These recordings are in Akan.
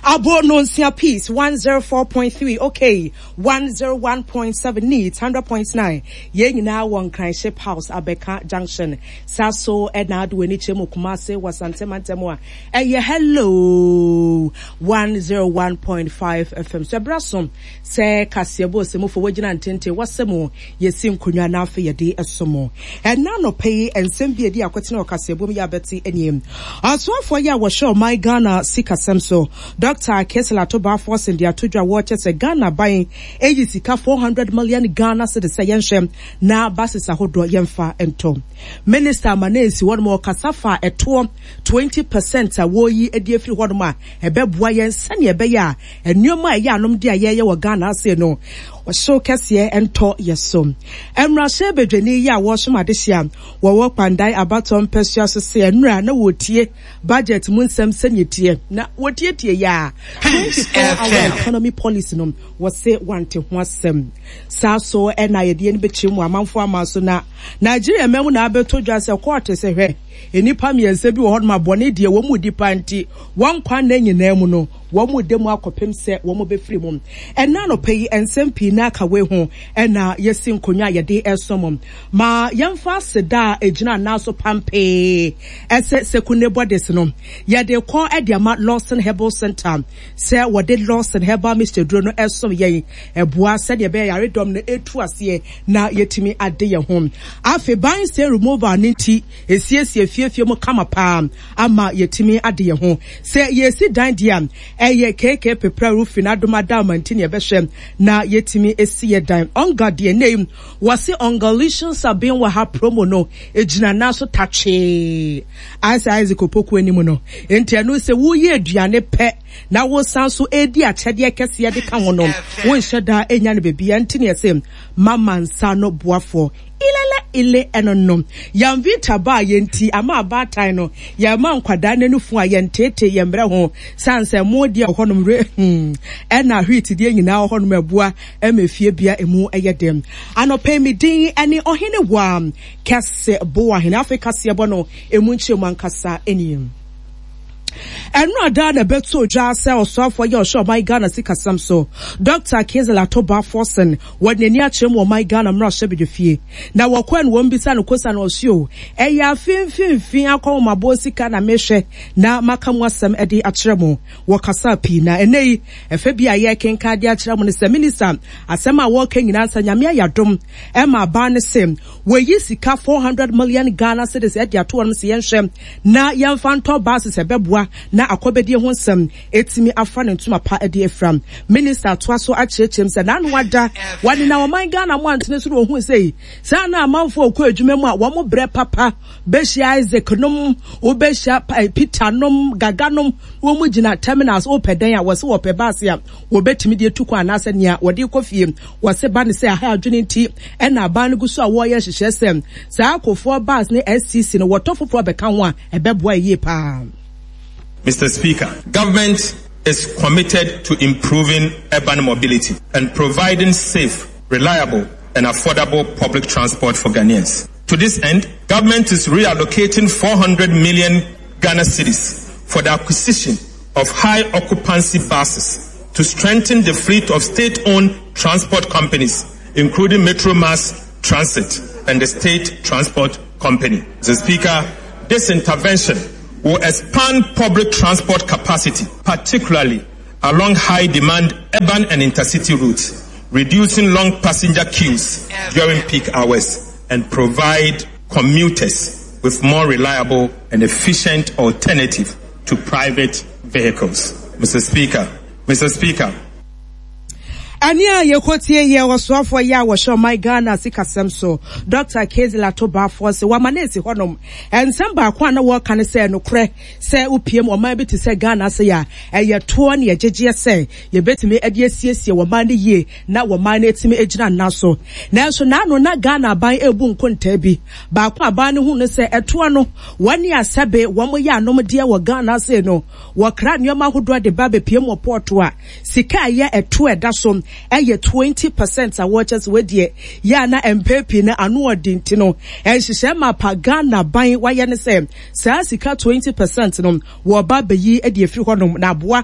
Abo no nsia Peace 104.3 okay 101.7 Neat 100.9 Yɛn nyinaa wɔ Nkran Ship House Abɛka Junction saa so ɛna ade w'ani kyerɛ mu Kumase wɔ Asante mantam a ɛyɛ Hello 101.5 FM so ɛbra so sɛ kaseɛbɔ ɔsɛmufo wogyina ntenten wɔsɛ mu yɛsi nkonnwa na afei yɛde ɛso mo ɛna anɔpa yi nsɛm bi edi akɔtena wɔ kaseɛbɔ mu yɛ abɛte anim ɔsoafoɔ yi a wɔhwɛ ɔman Ghana sikasɛm so Dr. Cassiel Ato Forson de ato dwa wɔkyɛ sɛ Ghana ban eyi sika 400 million Ghana cedis sɛ yɛnhwɛ na buses ahodoɔ yɛmfa ntɔ. Minister ama na esi hɔnom ɔkasa fa ɛtoɔ 20% a wɔyi adi afiri hɔnom a ɛbɛboa yɛn sɛnea ɛbɛyɛ a nneɛma a ɛyɛ anom de a yɛyɛ wɔ Ghana ase no ɔhyew kɛseɛ ntɔ yɛ so. Mmarahyɛ badwani yi a wɔresom adehye a wɔwɔ Kpandai abatoɔ mpɛsoa so se nnura na wɔretie budget mu nsɛm sɛnea ɛteɛ na wɔtietie yɛ a 24 hour economy policy no wɔse wante ho asɛm. Saa so ɛna yɛde yɛn bɛkyerɛ mu amanfoɔ ama so na Nigeria man mu na abɛtɔ dwa sɛ kɔɔte sɛ hwɛ nnipa mmiɛnsa bi wɔ hɔnom a bɔne deɛ wɔn mu di paa nti wɔn nkwa nna nyinaa mu no wɔn mu da mu akɔpem sɛ wɔn bɛfiri mu. Ɛna anɔpa yi nsɛm pii na aka wei ho ɛna yɛsi nkonnwa a yɛde ɛsom ma yɛmfa aseda a ɛgyina anan so pampee ɛsɛ Sekunde Bodies no yɛde kɔ ɛde ama Lawson Herbal Center sɛ wɔde Lawson Herbal Mixture duro no ɛsom yɛn ɛboa sɛdeɛ ɛbɛyɛ yaredɔm no ɛtu aseɛ na yɛtumi ade yɛn ho. Afei ban stain removal no nti esiesie fiefie mu kama paa ama yɛtumi ade yɛn ho. Sɛ yɛsi dan deɛ a ɛyɛ KK Pepra Roofing adom adaama nti na yɛbɛhwɛ na yɛtumi esi yɛ dan. Ɔnga deɛ ne wɔse Ɔngalicious abɛn wɔ ha promo no egyina nan so tatwee ayɛ sɛ Isaac Opoku anim no. Nti ɛno sɛ woyɛ aduane pɛ na wosan so edi akyɛdeɛ kɛseɛ de ka ho no, wonhyɛ da enya no baabi. Nti ne yɛse mama nsa no boafoɔ ilele ile ɛno no. Yamvita baa yɛn ti ama abaatan no yɛma nkwadaa n'anufo a yɛnteete yɛn mmerɛ ho san sɛ mo deɛ wɔ hɔnom re ɛna wheat deɛ nyinaa wɔ hɔnom ɛboa ɛma fie bia emu ɛyɛ dɛm. Anɔpɛ mi din ɛne ɔhene wa kɛse boa hene afei kaseɛ bɔ no emu nkyɛn mu ankasa ɛnie. Ɛno ada na ɛbɛto dwa sɛ ɔsoafoɔ yɛ ɔhyɛ ɔman Ghana sikasɛm so Dr. Cassiel Ato Forson wɔde n'ani akyerɛ mu ɔman Ghana mmarahyɛ badwafie na wɔkɔɛ no wɔn bisa no kosa no ɔse o ɛyɛ afe mfimfini akɔnhomaboɔ sika na mehwɛ na maka mu asɛm de akyerɛ mo. Wɔkasa pii na ɛnɛ yi ɛfɛ bi a yɛkenka de akyerɛ mo no sɛ minister asɛm a wɔka nyinaa sɛ Nyame ayɛ adom ɛma aban no se wɔyi sika 400 million Ghana cedis ɛde ato wɔn sɛ yɛnhwɛ na yɛmfa ntɔ buses ɛbɛboa na akɔbɛdie ho nsɛm ɛtumi afa ne ntoma pa de afira. Minister atoa so akyerɛkyerɛm sɛ n'ano ada wɔde na ɔman Ghana mo antene so na ohun sɛ saa na amanfoɔ kɔ adwuma mu a wɔn brɛ papa bɛhyia Isaac nom wobɛhyia Peter nom Gaga nom wɔn mu gyina terminals wopɛ dɛn a wɔse wɔpɛ baase a wɔbɛtumi de atu kwan anaasɛ nea wɔde kɔ fie. Wɔse ba ne sɛ aha adwene nti ɛna aban no gu so a wɔreyɛ nhyehyɛ sɛ saa akofoɔ bus ne STC no wɔtɔ foforɔ bɛka ho a ɛbɛboa yie paa. Mr. Speaker, government is committed to improving urban mobility and providing safe, reliable, and affordable public transport for Ghanaians. To this end, government is reallocating 400 million Ghana cedis for the acquisition of high occupancy buses to strengthen the fleet of state-owned transport companies, including Metro Mass Transit and the State Transport Company. Mr. Speaker, this intervention will expand public transport capacity, particularly along high-demand urban and intercity routes, reducing long passenger queues during peak hours and provide commuters with more reliable and efficient alternative to private vehicles. Mr. Speaker, Mr. Speaker, Ɛne a yɛkɔtie yɛ ɔsoafoɔ yɛ a wɔhyɛ ɔman Ghana sikasɛm so Dr. Cassiel Ato Forson wama no esi hɔnom. Nsɛm baako a na wɔreka ne sɛ nokorɛ sɛ wopiem ɔman bi te sɛ Ghana ase a ɛyɛ toɔ ne ɛgyegyeɛ sɛ yɛbɛtumi de asiesie wɔman no yie na wɔman no atumi agyina nna so. Nanso n'ano na Ghana aban ebu nkontaa bi. Baako aban no hu no sɛ ɛtoɔ no wɔne asɛbe wɔn yɛ anomdeɛ wɔ Ghana ase no wɔkra nneɛma ahodoɔ de ba bɛpiem wɔ pɔɔto a sika a ɛyɛ ɛtoɔ ɛda so. ɛyɛ 20 percent a wɔkyɛ sɛ wɔdeɛ yɛ a na mpɛn pii no ano ɔden nti no nhyehyɛe mapa Ghana ban wayɛ ne sɛ saa sika 20 percent no wɔba bɛyi de afiri hɔnom na aboa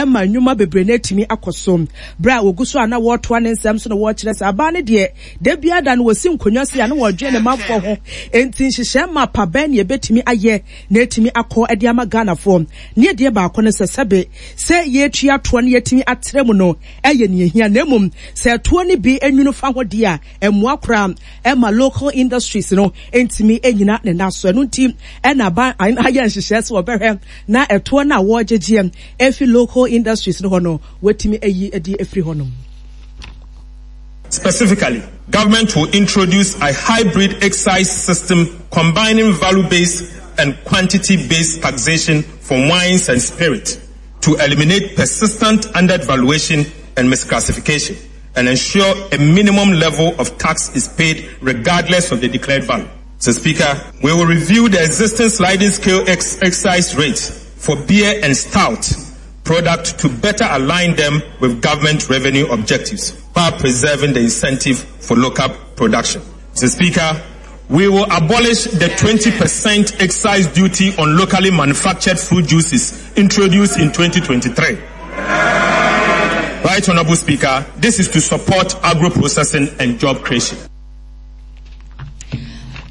ma nnwuma bebree no atumi akɔ so. Berɛ a wɔgu so a na wɔretoa ne nsɛm so na wɔrekyerɛ sɛ abaa no deɛ da biara da no wɔsi nkonnwa sei a na wɔredwene ne manfoɔ ho enti nhyehyɛe mapa bɛn na yɛbɛtumi ayɛ na atumi akɔ de ama Ghanafoɔ. Ne adeɛ baako ne sɛ sɛbe sɛ yɛretua toɔ na yɛatumi atrɛ mu no yɛ nea ehia na mmom sɛ ɛtoɔ no bi nwunu fa ho deɛ a ɛmmoa koraa ɛma local industries no ntumi nnyina ne nan so. Ɛno nti ɛna aban ayɛ nhyehyɛɛ sɛ wɔbɛhwɛ na ɛtoɔ no a wɔregyegyeɛ afi local industries no hɔ no wɔatumi ayi de afiri hɔnom. Specifically, government will introduce a hybrid excise system combining value-based and quantity-based taxation for wines and spirits to eliminate persistent undervaluation and misclassification and ensure a minimum level of tax is paid regardless of the declared value. Mr. Speaker, we will review the existing sliding scale ex- excise rates for beer and stout product to better align them with government revenue objectives while preserving the incentive for local production. Mr. Speaker, we will abolish the 20% excise duty on locally manufactured fruit juices introduced in 2023. Right Honorable Speaker, this is to support agro-processing and job creation.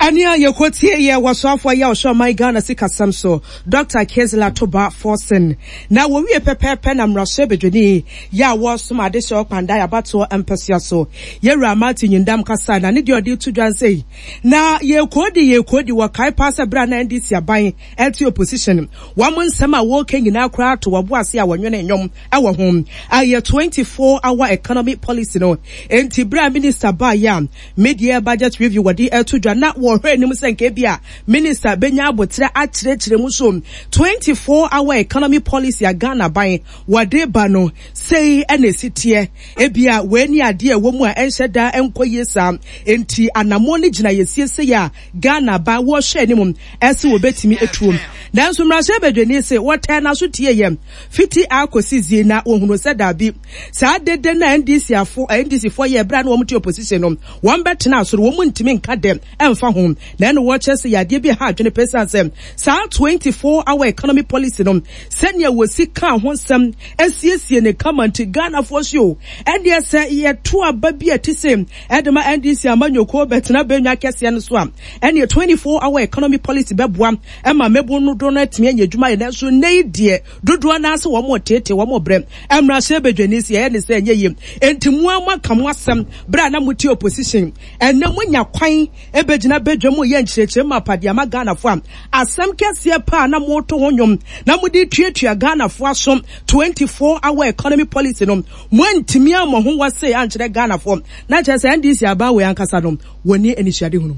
Ɛne a yɛkɔtie yɛ wɔsoafoɔ yɛ ɔhwɛ ɔman Ghana sikasɛm so Dr. Cassiel Ato Baah Forson na wɔwie pɛpɛɛpɛ na mmarahyɛ badwani yɛ a wɔresom adehyɛ ɔkwandae abatoɔ mpɛsoa so Yɛwura Martin Nyindam kasae na ne deɛ ɔde to dwa nsei na yɛkɔdi yɛkɔdi wɔkae paa sɛ berɛ a na NDC aban ɛte opposition wɔn nsɛm a wɔreka nyinaa koraa to wɔbo ase a wɔnwene nnwom ɛwɔ ho ayɛ 24 hour economy policy no enti berɛ a minister baeɛ a Mid-year budget review wɔde reto dwa na wɔhwɛ anim sɛ nka ebia minister benya aboterɛ akyerɛkyerɛ mu so 24 hour economy policy a Ghana ban wɔde ba no sei na esi teɛ. Ebia wei ne adeɛ a ɛwɔ mu a ɛnhyɛ da nkɔ yie saa enti anammɔn no gyina yɛsie sei a Ghana ban wɔhwɛ anim ɛse wɔbɛtumi atuo. Nanso mmarahyɛbadwani se wɔtɛɛ n'aso tieeɛ fiti A kɔsi Z na wɔhunuu sɛ daabi. Saa dede no a NDC afo, NDC foɔ yɛɛ berɛ a na wɔn te opposition no, wɔn bɛtenaa soro, wɔn ntumi nka dɛ ɛmfa ho. Na ɛno wɔkyerɛ sɛ yɛ adeɛ bi a ɛha adwene paa ɛsiane sɛ saa 24 hour economy policy no, sɛdeɛ wɔsi kaa ho nsɛm asiesie no kama nti Ghanafoɔ se o, ɛndeɛ sɛ yɛto aba bi a ɛte sei ɛde ma NDC amanyɔkuo bɛtena bɛnwa kɛseɛ no so a, ɛnneɛ 24 hour economy policy bɛboa ma mmabun no dodoɔ no atumi anya adwuma ayɛ. Nanso nnɛ yi deɛ dodoɔ no ara sɛ wɔn reteetee, wɔn rebrɛ. Mmarahyɛbadwani se yɛyɛ ne sɛ ɛnyɛ yie. Enti mo ara moaka mo asɛm berɛ a na mote opposition. Ɛnnɛ moanya kwan bɛgyina badwam reyɛ nkyerɛkyerɛmu mapa de ama Ghanafoɔ a asɛm kɛseɛ paa na moreto ho nnwom na mode retuatua Ghanafoɔ aso 24 hour economy policy no moantumi ammɔ ho wɔse ankyerɛ Ghanafoɔ. Na kyerɛ sɛ NDC aban wei ankasa no wɔnni anisoadehunu.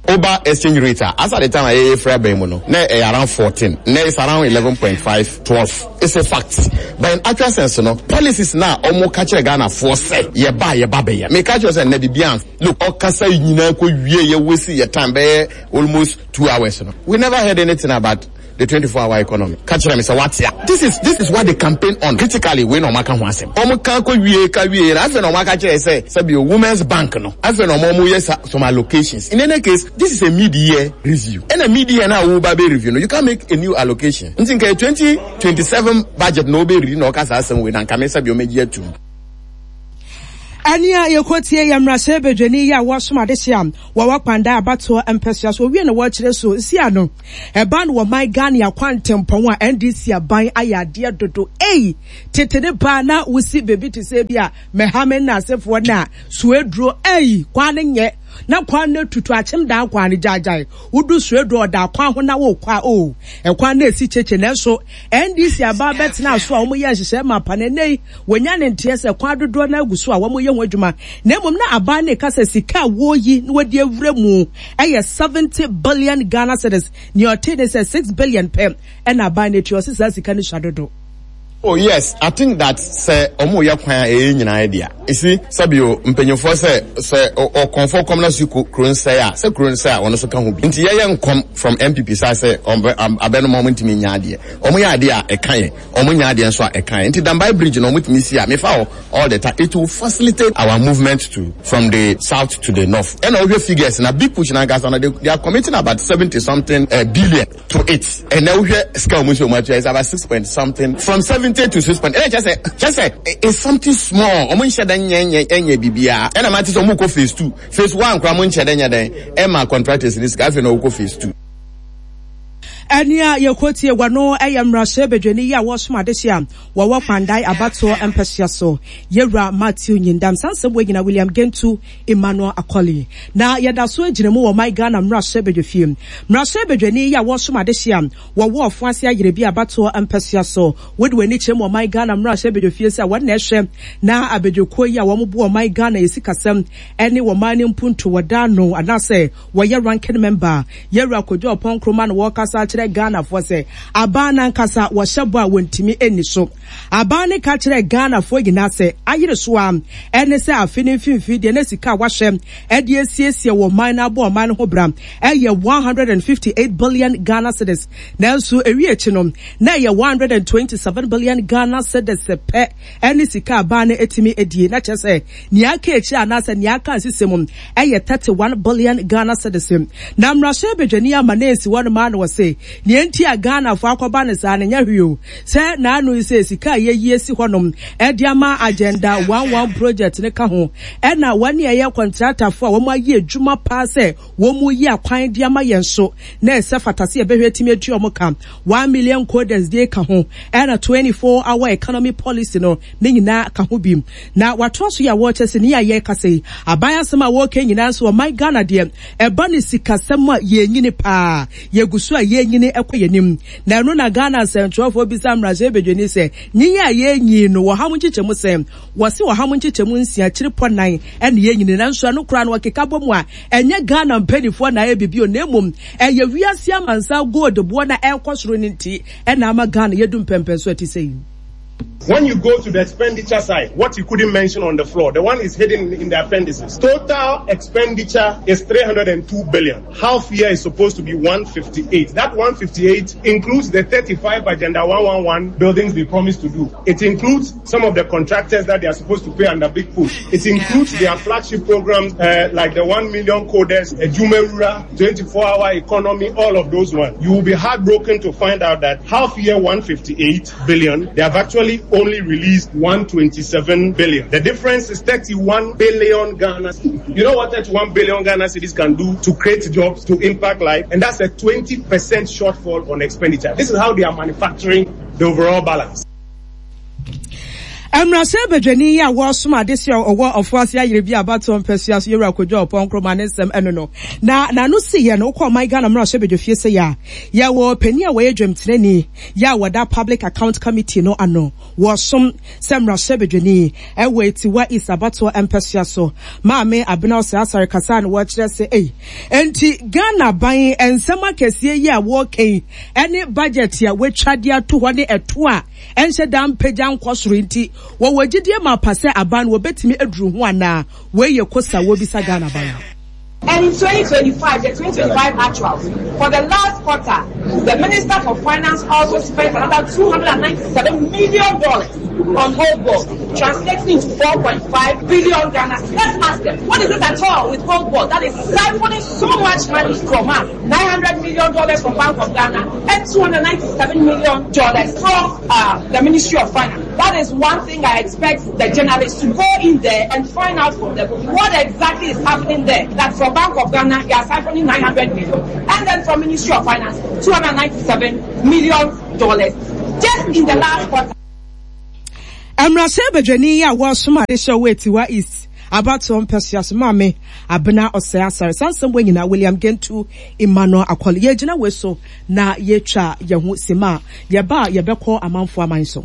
Woba exchange rate a, as at the time a yɛyɛ firi aban mu no, na ɛyɛ around 14, nnɛ it's around 11.5, 12. It's a fact. But in actual sense no, policies no a wɔn ka kyerɛ Ghanafoɔ sɛ yɛba a yɛba bɛyɛ. Meka kyerɛ sɛ nnɛ biribiara nf. Look, ɔkasa yi nyinaa kɔ wie yɛ waste yɛ time bɛyɛ almost 2 hours no. We never heard anything about the 24 hour economy. Ka kyerɛ me sɛ wate a. This is what they campaign on. Critically, wei na wɔn aka ho asɛm. Wɔn ka kɔ wie ka wie na afei na wɔn aka kyerɛ sɛ sɛbi o women's bank no. Afei na wɔn wɔn yɛ some allocations. In any case, this is a mid-year review. Ɛna mid-year na awo ba bɛ review no, you can make a new allocation. Nti nka 2027 budget na ɔbɛ review na ɔka saa asɛm wei na nka me sɛbi wɔn agye atum. Ɛne a yɛkɔtie yɛ mmarahyɛ badwani yi a wɔsom adehye a wɔwɔ Kpandai abatoɔ mpɛsoa so owie na wɔkyerɛ so si ano ɛba no wɔ man Ghana akwantempɔn a NDC aban ayɛ adeɛ dodo ei tete ne paa na wosi baabi te sɛ bi a Mɛhame nnasefoɔ no a suaduro ei kwan no nyɛ na kwan no tutu akyem daa kwan no gyaagyae wodu suaduro ɔda kwan ho na wokɔ a o ɛkwan no esi kyekye nanso NDC aban bɛtena so a wɔyɛ nhyehyɛe ma pa na ɛnɛ yi wɔnya ne nteɛ sɛ kwan dodoɔ no agu so a wɔyɛ ho adwuma na mmom na aban no ka sɛ sika a wɔyi na wɔde awura mu ɛyɛ 70 billion Ghana cedis nea ɔte ne sɛ 6 billion pɛ ɛna aban no atua ɔse saa sika no sua dodo. Oh yes, I think that sɛ ɔmo yɛ kwan a ɛyɛ nyinaa yɛ dea. You see, sɛbio mpanyinfoɔ sɛ sɛ ɔkɔmfoɔ kɔm na so kuro nsɛe a, sɛ kuro nsɛe a ɔno nso ka ho bi. Nti yɛyɛ nkɔm from NPP side sɛ ɔmo abɛnom ɔmo ntumi nyɛ adeɛ. Ɔmo yɛ adeɛ a ɛka yɛn, ɔmo nyɛ adeɛ nso a ɛka yɛn. Nti Dambai bridge no ɔmo tumi si a, mefa hɔ all the time. It will facilitate our movement to from the south to the north. Ɛna wohwɛ figures na big push no ankasa no they, they are committing about 70 something uh, billion. to it ɛnɛ wohwɛ sika wɔn nso wɔn atua it's about six point something from 70 to six point ɛnɛ kyɛ sɛ kyɛ sɛ it's something small wɔn nhyɛ dɛ nyɛ nyɛ nyɛ bibiara ɛna maa ti sɛ wɔn kɔ phase two phase one koraa wɔn nhyɛ dɛ nyɛ dɛ ɛma contractors ni sika afei na wɔn kɔ phase two. Ɛne a yɛkɔtie wɔ no yɛ mmarahyɛ badwani yi a wɔresom adehye a wɔwɔ Kpandae abatoɔ mpɛsoa so, Yɛwura Matthew Nyindam. Saa nsɛm wei nyinaa William Gentu Emmanuel Akoli. Na yɛda so gyina mu wɔ ɔman Ghana mmarahyɛ badwafie. Mmarahyɛ badwani yi a wɔresom adehye a wɔwɔ Ɔfoase Ayerɛbi abatoɔ mpɛsoa so. Wode w'ani kyerɛ mu ɔman Ghana mmarahyɛ badwafie sɛ wɔn na ɛhwɛ na abadwakuo yi a wɔn boa ɔman Ghana yɛ sikasɛm ne ɔman no mpuntuo wɔda ano anaasɛ wɔyɛ ranking member. Yɛwura Kojo Oppong Nkrumah na wɔrekasa akyerɛ Ghanafoɔ sɛ aban no ankasa wɔhyɛ bɔ a wɔntumi nni so. Aban no ka kyerɛɛ Ghanafoɔ nyinaa sɛ ayere so ara ne sɛ afe no mfimfini deɛ na sika a wɔahyɛ de asiesie wɔ ɔman no abɔ ɔman no ho bra yɛ 158 billion Ghana cedis nanso ɛwie akyi no na ɛyɛ 127 billion Ghana cedis pɛ ne sika a aban no atumi adie na kyerɛ sɛ nea aka akyire anaasɛ nea aka nsesɛ mu yɛ 31 billion Ghana cedis. Na mmarahyɛ badwani ama no ansi hɔ nom ara na ɔse nea enti a Ghanafoɔ akɔba no saa no nyɛ hwee o sɛ n'ano yi sɛ sika a yɛayi asi hɔnom de ama Agenda One One Project no ka ho ɛna wɔn a ɛyɛ kɔntratafoɔ a wɔayɛ adwuma paa sɛ wɔreyi akwan de ama yɛn nso na ɛsɛ fata sɛ yɛbɛhwɛ atumi atua wɔn ka. One Million Coders deɛ ka ho ɛna 24 Hour Economy Policy no ne nyinaa ka ho bi. Na watoa so yi a wɔrekyɛ sɛ nea yɛrekasa yi aban asɛm a wɔreka nyinaa nso ɔman Ghana deɛ ɛba ne sikasɛm a yɛnyini paa yɛgu so a yɛnyini kɔ yɛn anim. Na ɛno na Ghana nsɛntwerɛfoɔ bisa mmarahyɛbadwani sɛ, Nyin a yɛrenyin no, wɔ ha mo nkyekyɛmu sɛn? Wɔse wɔ ha mo nkyekyɛmu nsia akyiri pɔ nan na yɛnyini. Nanso ɛno koraa no wɔkeka bɔ mu a, ɛnyɛ Ghana mpaninfoɔ na ayɛ biribi o, na mmom ɛyɛ wiase amansan gold boɔ no a ɛrekɔ soro no nti na ama Ghana yɛadu mpɛnpɛnso a ɛte sɛ yi. When you go to the expenditure side, what you couldn't mention on the floor, the one is hidden in the appendices. Total expenditure is 302 billion. Half year is supposed to be 158. That 158 includes the 35 Agenda 111 buildings they promised to do. It includes some of the contractors that they are supposed to pay under Big Push. It includes their flagship programs uh, like the 1 million coders, Jumerura, 24-hour economy, all of those ones. You will be heartbroken to find out that half year 158 billion, they have actually only released 127 billion. The difference is 31 billion Ghana. You know what 31 billion Ghana cedis can do to create jobs, to impact life? And that's a 20% shortfall on expenditure. This is how they are manufacturing the overall balance. Mmarahyɛ badwani yi a wɔresom adesua a ɔwɔ Ɔfoase Ayere bi abatoɔ mpɛsua so Yɛwura Kojo Ɔpɔn Nkrumah ne nsɛm ɛno no na n'ano si yɛ no wokɔ ɔman Ghana mmarahyɛ badwafie sɛ yɛ a yɛwɔ panin a wɔyɛ dwamtenani yɛ a wɔda Public Account Committee no ano wɔresom sɛ mmarahyɛ badwani ɛwɔ Atiwa East abatoɔ mpɛsua so Maame Abena Osei Asare kasa na wɔkyerɛ sɛ ei enti Ghana ban nsɛm akɛseɛ yi a wɔreka yi ɛne budget a wɔatwa de ato hɔ ne ɛto a ɛnhyɛ da mpagya nkɔ soro nti, wɔwɔ gyidie mapa sɛ aban no wɔbɛtumi aduru ho anaa? Wei yɛ kosa a wɔrebisa Ghana aban no. And in 2025, the 2025 actuals, for the last quarter, the Minister for Finance also spent another $297 million on gold board, translating into 4.5 billion Ghana. Let's ask them, what is it at all with gold board that is siphoning so much money from us? $900 million from Bank of Ghana and $297 million from uh, the Ministry of Finance. That is one thing I expect the journalists to go in there and find out from them what exactly is happening there. That from Bank of Ghana, they are siphoning 900 million, and then from Ministry of Finance, 297 million dollars just in the last quarter. Mmarahyɛ badwani yi a wɔresom adehyɛ wɔ Atiwa East abatoɔ mpɛsoa so Maame Abena Osei Asare. Saa nsɛm wei nyinaa William Gentu Emmanuel Akɔle. Yɛgyina wei so na yɛtwa yɛn ho sima a yɛba a yɛbɛkɔ amanfoɔ aman so.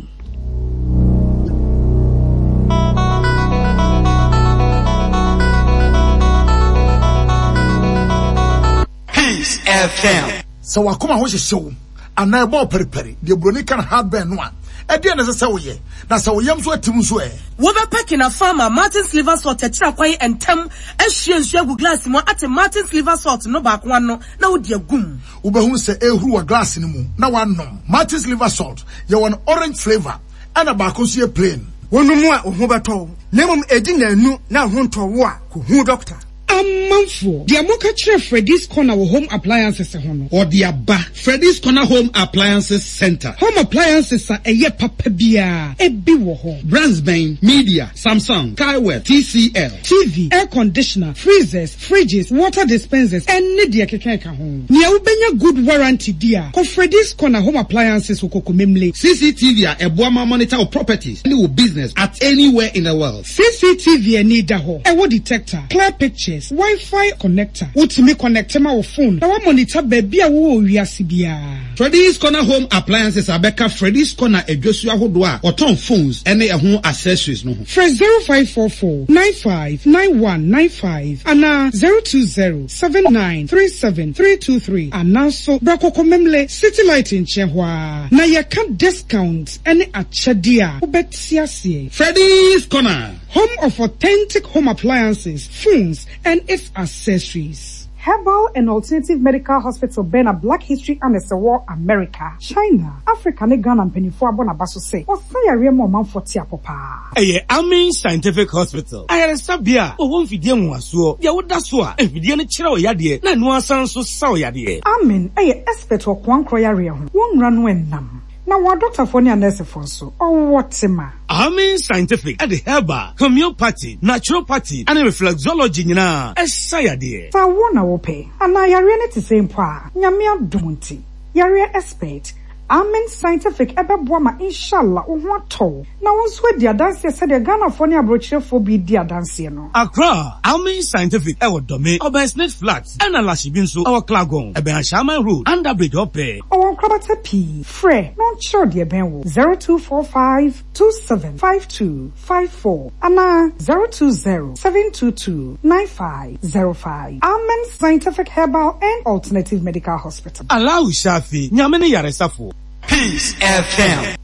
Peace FM. Sɛ w'akoma ho hyehye wo anaa ɛbɔ wo paripari, deɛ buroni ka no heartburn no a, Ɛdeɛn na ɛsɛ sɛ woyɛ? Na sɛ wo yam nso atim nso ɛ? Wobɛpɛ Kina Farmer Martin's Liver Salt akyiri akwan ntɛm ahwie nsuo agu glass mu ate Martin's Liver Salt no baako ano na wode agu mu. Wobɛhunu sɛ ɛrehuru wɔ glass no mu na woanom. Martin's Liver Salt, yɛwɔ no orange flavour ɛna baako nso yɛ plain. Wonom a, wo ho bɛtɔ wo, na mmom ɛdi nnanu na wo ho ntɔ wo a, kɔhu dɔkta. Amanfoɔ, deɛ moka kyerɛ Freddy's Corner wɔ Home Appliances ho no. Ɔde aba. Freddy's Corner Home Appliances Centre. Home appliances a ɛyɛ papa biara, ebi wɔ hɔ. Brands bɛn? Media, Samsung, Skyworth, TCL. TV, air conditioner, freezers, fridges, water dispensers, ɛne deɛ ɛkeka ɛka ho. Nea wobɛnya good warranty di a, kɔ Freddy's Corner Home Appliances wɔ Kokomemle. CCTV a ɛboa ma monitor wo properties ne wo business at anywhere in the world. CCTV ani da hɔ, ɛwɔ detector, clear pictures, Wi-Fi connector. Wotumi connecte ma wo phone na woamonitor baabi a wowɔ wɔ wiase biara. Freddy's Corner Home Appliances abɛka Freddy's Corner adwasu ahodoɔ a wɔtɔn phones ne ɛho accessories no ho. Frɛ 0544 95 9195 anaa 020 79 37 323 anaa nso bra Kokomemle City Light nkyɛn hɔ ara na yɛka discount ne akyɛdeɛ a wobɛte aseɛ. Freddy's Corner. Home of authentic home appliances, phones and its accessories. Herbal and Alternative Medical Hospital bɛn na Black History Annex wɔ America, China, Africa ne Ghana mpaninfoɔ abɔ n'aba so sɛ ɔsa yareɛ ma ɔmanfoɔ te apɔ paa. Ɛyɛ Amin Scientific Hospital, ayaresabea a wɔwɔ mfidie nwonwasoɔ, deɛ woda so a mfidie no kyerɛ wo yadeɛ na ɛno ara san nso sa wo yadeɛ. Amin yɛ expert wɔ koankorɔ yareɛ ho, wɔn nwura no nnam. Na wɔn adɔktafoɔ ne anɛɛsefoɔ nso, wɔwɔ tema. Amin Scientific de herbal, homeopathy, naturopathy ne reflexology nyinaa sa yadeɛ. Sɛ awoɔ na wopɛ, anaa yareɛ no te sɛn mpo a, Nyame adom nti, yareɛ expert, Amen Scientific bɛboa ma Inshallah wo ho atɔ wo, na wo nso adi adanseɛ sɛdeɛ Ghanafoɔ ne aborɔkyerɛfoɔ bi redi adanseɛ no. Accra, Amen Scientific wɔ Dome, ɔbɛn Snit Flats, ɛna Lashibi nso wɔ Klagon, ɛbɛn Ashaiman Road, Under Bridge hɔ pɛɛ. Ɔwɔ nkorabata pii. Frɛ na ɔnkyerɛ wo deɛ ɛbɛn wo, 0245 27 52 54 anaa 020 722 9505. Amen Scientific Herbal and Alternative Medical Hospital. Allahu Shafi, Nyame ne yaresafoɔ. Peace FM.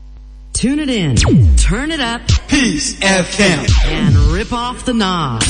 Tune it in, turn it up. Peace FM. And rip off the knob.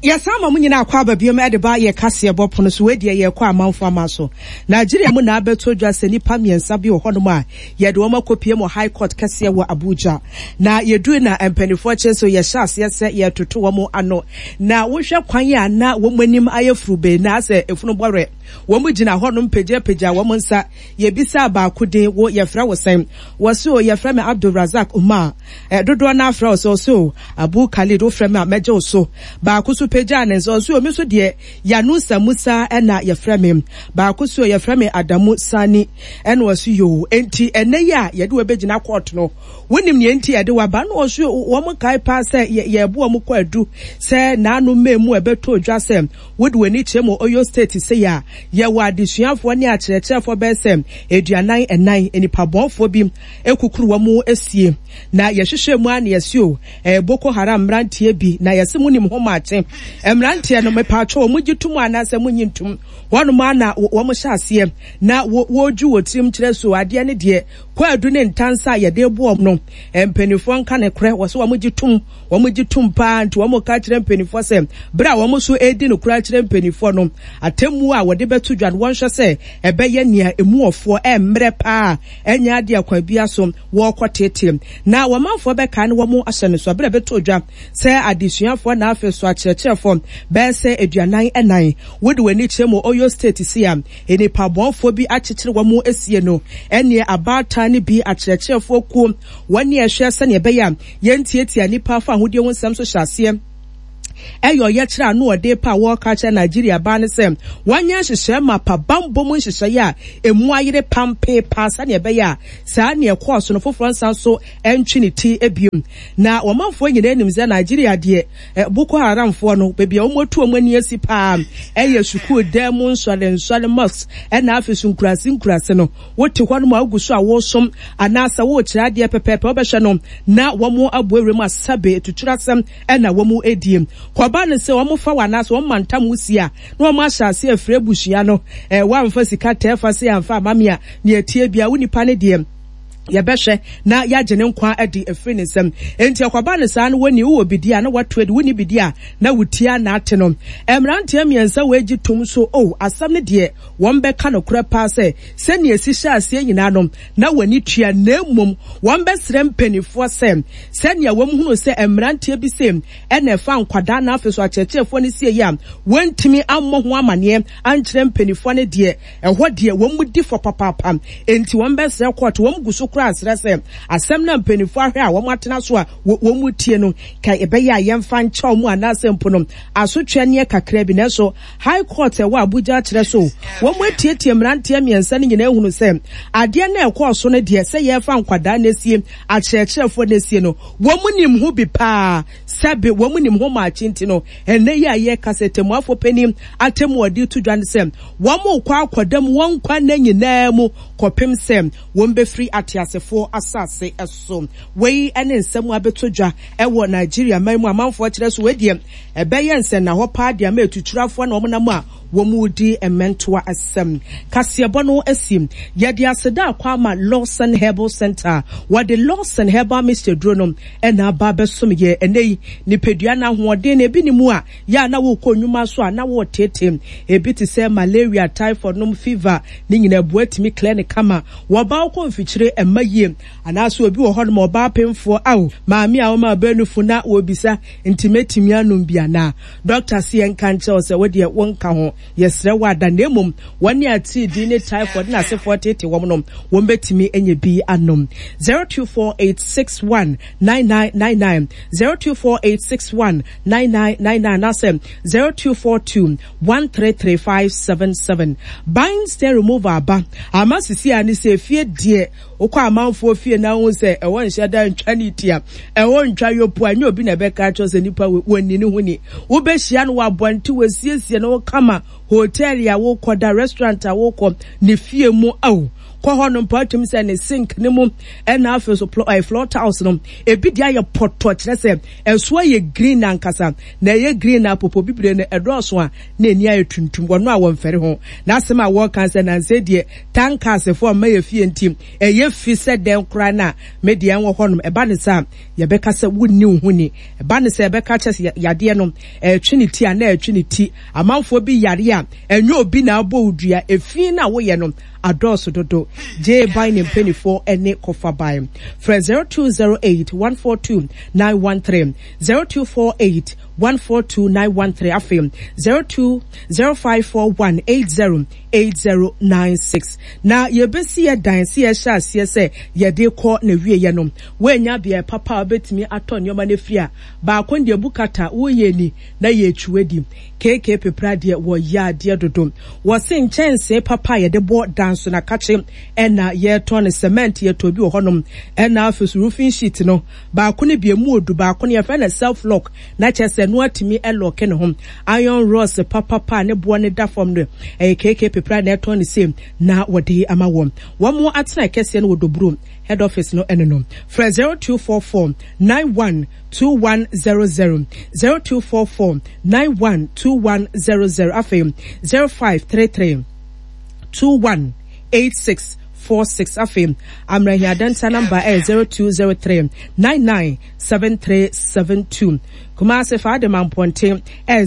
Yɛsan ma mo nyinaa akɔ aba biom de ba yɛ kaseɛbɔ pono so. Wei deɛ yɛrekɔ amanfo aman so. Nigeria mu na abɛtɔ dwa sɛ nnipa mmiɛnsa bi wɔ hɔnom a yɛde wɔn akɔpue mu High Court kɛseɛ wɔ Abuja. Na yɛdui na mpanimfoɔ kyerɛ sɛ yɛhyɛ aseɛ sɛ yɛretoto wɔn ano. Na wohwɛ kwan a na wɔn anim ayɛ furubee na asɛ efunu bɔwerɛ. Wɔn gyina hɔnom pagyapagya wɔn nsa. Yɛbisaa baako din, wo yɛfrɛ wo sɛn? Wɔse o yɛfrɛ me Abdul Razak Umar. Ɛ, dodoɔ no ara frɛ wo sɛ? Ɔse o, Abu Khalid, wofrɛ me a mɛgye wo so. Baako nso pagyaa ne nsa, ɔse o, me nso deɛ Yanusa Musa na yɛfrɛ me. Baako se o, yɛfrɛ me Adamu Sani. Ɛna ɔse yoo, enti ɛnnɛ yi a yɛde wo abɛgyina kɔɔto no, wonim nea enti a yɛde wo aba? Ɛna ɔse o, wɔn kae paa sɛ yɛ, yɛɛbo wɔn kwaadu sɛ naano May mu ɛbɛtɔɔ dwa sɛ wode w'ani kyerɛ mu Oyo State sei a, yɛwɔ adesuafoɔ ne akyerɛkyerɛfoɔ bɛyɛ sɛ 44, nnipabɔnfoɔ bi kukuru wɔn sie. Na yɛhwehwɛɛ mu ara na yɛse o, ɛyɛ Boko Haram mmeranteɛ bi, na yɛse monim ho maakye. Mmeranteɛ no, mepatwɔ, wɔgye tom anaasɛ monnye ntom? Hɔnom ara na wɔhyɛ aseɛ na wɔredwi wɔ tirim kyerɛ so adeɛ ne deɛ kwaadu ne ntansa a yɛde rebo wɔn no, mpanimfoɔ nka nokorɛ, wɔse wɔgye tom, wɔgye tom paa, nti wɔka kyerɛ mpanimfoɔ sɛ berɛ a wɔn nso redi nokorɛ akyerɛ mpanimfoɔ no, atemmuo a wɔde bɛto dwa no wɔnhwɛ sɛ ɛbɛyɛ nea ɛmu ɔfoɔ, ɛmmerɛ paa, ɛnyɛ adeɛ a kwan biara so wɔrekɔ teetee. Na wɔn manfoɔ bɛkae na wɔn ahyɛ no so berɛ a ɛbɛtɔ dwa sɛ adesuafoɔ na afei so akyerɛkyerɛfoɔ bɛyɛ sɛ 44 wode wɔn ani kyerɛ mu Oyo State sei a nnipa bɔnfoɔ bi akyekyere wɔn asie no ɛneɛ abaatan no bi akyerɛkyerɛfoɔ kuo wɔn ne ɛhwɛ sɛdeɛ ɛbɛyɛ a yɛntiatia nnipa fa ahodie ho nsɛm so hyɛ aseɛ ɛyɛ ɔyɛkyerɛ a ano ɔden pa a wɔreka akyerɛ Nigeria baa ne sɛ wɔnyɛ nhyehyɛe mapa bammɔ mu nhyehyɛe a emu ayere pampee paa sɛnea ɛbɛyɛ a saa nea ɛkɔɔ so no foforɔ nsan so ntwe ne ti bio. Na wɔmanfoɔ nyinaa nim sɛ Nigeria deɛ Boko Haramfoɔ no baabi a wɔatu wɔn ani asi paa ɛyɛ sukuu dan mu nsɔre nsɔre mosques ɛna afei so nkuraase nkuraase no wote hɔ nom a wogu so a woresom anaasɛ worekyerɛ adeɛ pɛpɛɛpɛ wobɛhwɛ no na wɔn aboa wuram asabe atuturasɛm na wɔn redie. Kɔba no sɛ wɔn fa wo anaasɛ wɔn mantam wo sie a, na wɔn ahyɛ aseɛ afiri abusua no. Ɛɛ woamfa sika tɛɛfa sei amfa amma me a, nea ɛteɛ biara wo nipa no deɛ yɛbɛhwɛ na yɛagye ne nkwa adi afiri ne nsam. Enti ɛkɔba no saa no wɔnni wowɔ bidie a na woato adi, wonni bidie a na wo ti ara na ate no. Mmeranteɛ mmiɛnsa wei gye tom so, oh, asɛm no deɛ wɔbɛka nokorɛ paa sɛ sɛnea ɛsi hyɛɛ aseɛ nyinaa no na wɔn ani tua na mmom wɔbɛsrɛ mpanimfoɔ sɛ sɛnea wɔhunuu sɛ mmeranteɛ bi sei na ɛfa nkwadaa na afei so akyerɛkyerɛfoɔ no sie yi a wɔantumi ammɔ ho amaneɛ ankyerɛ mpanimfoɔ no deɛ ɛhɔ deɛ wɔn di fɔ papaapa. Enti wɔn bɛsrɛ kɔɔto, wɔn gu so koraa srɛ sɛ asɛm no a mpanimfoɔ ahwɛ a wɔn atena so a wɔn tie no, ka ɛbɛyɛ a yɛmfa nkyɛ wɔn anaasɛ mpo no asotweɛ neɛ kakra bi. Nanso High Court a ɛwɔ Abuja akyerɛ so wɔn atietie mmeranteɛ mmiɛnsa no nyinaa ahunu sɛ adeɛ no a ɛkɔɔ so no deɛ sɛ yɛrefa nkwadaa no asie akyerɛkyerɛfoɔ no asie no wɔn nim ho bi paa. Sɛbe wɔn nim ho maakye nti no, ɛnnɛ yi a yɛreka sɛ tɛmmuafoɔ panin atemmu a ɔde reto dwa ne sɛ wɔrekɔ akɔda mu wɔn nkwa nna nyinaa mu kɔpem sɛ wɔbɛfiri ateasefoɔ asase so. Wei ne nsɛm a abɛtɔ dwa wɔ Nigeria man mu. Amanfoɔ kyerɛ so wei deɛ ɛbɛyɛ nsɛnnahɔ paa de ama atuturafoɔ na wɔnam a wɔredi mmɛntoa asɛm. Kaseɛbɔ no asi. Yɛde aseda akɔ ama Lawson Herbal Center. Wɔde Lawson Herbal Mixture duro no na aba abɛsom yɛn ɛnnɛ yi. Nipadua no ahoɔden no, ebi nni mu a, yɛ a na worekɔ nnwuma so a na woreteetee. Ebi te sɛ malaria, typhoid nom, fever, ne nyinaa ɛboa tumi clear no kama. Wɔba wokɔ mfikyire, ɛmma yie. Anaasɛ obi wɔ hɔnom ɔbaa pemfoɔ, ao, maame a ɔma ɔbaa nufu na wɔrebisa, nti mɛtumi anom bi anaa? Dɔkta se yɛnka nkyerɛ wo sɛ wo deɛ wonka ho, yɛsrɛ wo ada, na mmom wɔn a atiridii ne typhoid ne asefoɔ teetee wɔn no, wɔn bɛtumi anya bi anom. 0248619999, 0248619999 anaasɛ 0242133577. Bind stain remover aba ama sisi a ne sɛ efie deɛ Wokɔ amanfoɔ fie na wohu sɛ ɛhɔ nhyɛ da ntwa ne ti a, ɛhɔ ntwa yopo a, ɛnyɛ obi na ɛbɛka akyerɛ sɛ nipa wei, wɔnni ne ho ni. Wobɛhyia no wɔ abɔnten, wɔasiesie ne ho kama, hotel a wokɔ da, restaurant a wokɔ, ne fie mu, ao, kɔ hɔ no mpo atumi sɛ ne sink no mu, ɛna afei so eh, floor tiles no, ebi deɛ ayɛ pɔtɔ kyerɛ sɛ ɛso ayɛ green ankasa, na ɛyɛ green na popo bibire no ɛdɔɔso a na ani ayɛ tuntum, wɔn a wɔmfɛre ho. N'asɛm a wɔka sɛ nansa deɛ Tankasefo mma yɛ fie nti, ɛyɛ fi sɛ dɛn koraa na me deɛ nwɔ hɔnom. Ɛba no saa a, yɛbɛka sɛ wonni wo ho ni. Ɛba no sɛ yɛbɛka kyerɛ sɛ yadeɛ no, ɛretwe ne ti a, na ɛretwe ne ti. Amanfoɔ bi yare a, ɛnyɛ obi na abɔ wo dua. Efi no a woyɛ no adɔɔso dodo. Gyee ban ne mpanimfoɔ ne kɔfa ban. Frɛ 0208 142 913, 0248 142 913, afei 02 0541 80 8096. Na yɛbɛsi yɛ dan sɛ yɛhyɛ aseɛ sɛ yɛde rekɔ n'awieɛ no, woannya beaɛ papa a wobɛtumi atɔ nneɛma no afiri a, baako no deɛ bukata woyɛ ni na yɛretwi adi. KK Pepra deɛ wɔyɛ adeɛ dodo. Wɔse nkyɛnsee papa a yɛde bɔ dan so na kakye ɛna yɛretɔn no, cement yɛtɔ bi wɔ hɔnom, ɛna afei so roofing sheet no baako no bi emu odu, baako no yɛfrɛ no self lock na kyerɛ sɛ ɛno atumi lɔke ne ho. Iron rods papapa a ne boɔ no da fam no, ɛyɛ KK Pepra na ɛtɔn no sei na wɔde ama wɔn. Wɔn atenae kɛseɛ no wɔ Doburo head office no ɛno no. Frɛ 0244 91 2100, 0244 91 2100, afei 0533 21 86 46, afei Amrahia Adenta namba ɛyɛ 0203 99 7372. Kumasi Fadema Mpɔnten ɛyɛ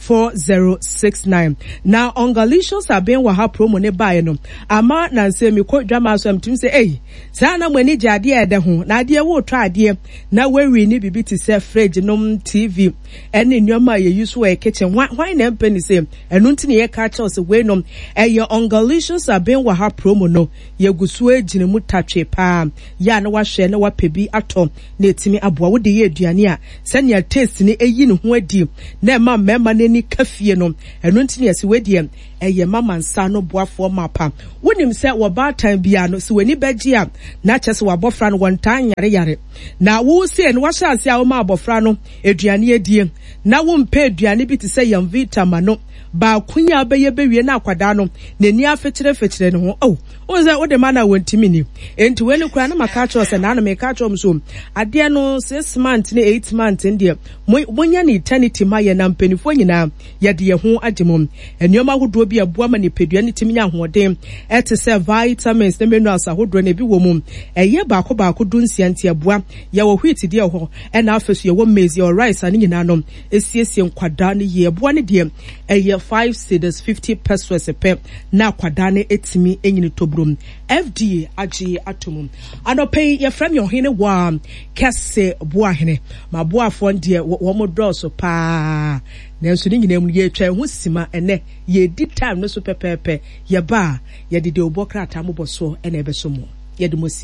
0544684069. Na Ongalicious Aben wɔ ha promo ne baeɛ no ama nansa mi kɔ dwama so a metumi sɛ ei saa na mo ani gye adeɛ a ɛdɛ ho na adeɛ wotɔ adeɛ na wawi ne biribi te sɛ fridge nom TV ɛne nneɛma a yɛyi so wɔ kitchen hwan hwan na ɛmpɛ ne sɛ ɛno nti na yɛka kyerɛw sɛ wei nom ɛyɛ Ongalicious Aben wɔ ha promo no yɛgu so gyina mu tatwe paa yɛ a na wahwɛ na wapɛ bi atɔ na ɛtumi aboa. Wode yɛ aduane a, sɛnea taste no ɛyi ne ho adi na ɛma mmarima no ani ka fie no, ɛno nti na yɛse wei deɛ ɛyɛ mama nsa ano boafoɔ mapa. Wonim sɛ wɔ baatan biara no, sɛ w'ani bɛgye a, na kyerɛ sɛ w'abɔfra no wɔntaa nyareyare. Na wo sei no, wahyɛ aseɛ a woma abɔfra no aduane adie, na wompɛ aduane bi te sɛ Yamvita ma no. Baako yi a wobɛyɛ bɛwie na akwadaa no n'ani afekyerefekyere ne ho. Oh, wohu sɛ wode ma no a wɔntumi nni. Enti wei no koraa na maka akyerɛ wo sɛ naano meka akyerɛ wɔn so adeɛ no 6 months ne 8 months no deɛ monyɛ no eternity ma yɛn na mpanimfoɔ nyinaa yɛde yɛn ho agye mu. Nneɛma ahodoɔ bi a ɛboa ma nipadua no tumi nya ahoɔden ɛte sɛ vitamins ne minerals ahodoɔ na ebi wɔ mu. Ɛyɛ baako baako 16 nti ɛboa. Yɛwɔ wheat deɛ wɔ hɔ ɛna afei so yɛwɔ maize, yɛwɔ rice a ne nyinaa no esiesie nkwadaa no yie. Ɛboa no deɛ ɛyɛ 5 cedis 50 pesewas pɛ na akwadaa no etumi enyini tobrom. FDA agye ato mu. Anɔpɛ yi yɛfrɛ me ɔhene wɔ kɛse boahene. Ma boafoɔ deɛ wɔn dɔɔso paa. Nanso ne nyinaa mu no yɛtwa ɛho sima ɛnɛ yɛdi time no so pɛpɛɛpɛ. Yɛba a yɛde deɛ ɔbɔ krataa mobɔ soɔ ɛna ɛbɛso mo. Yɛde mo si.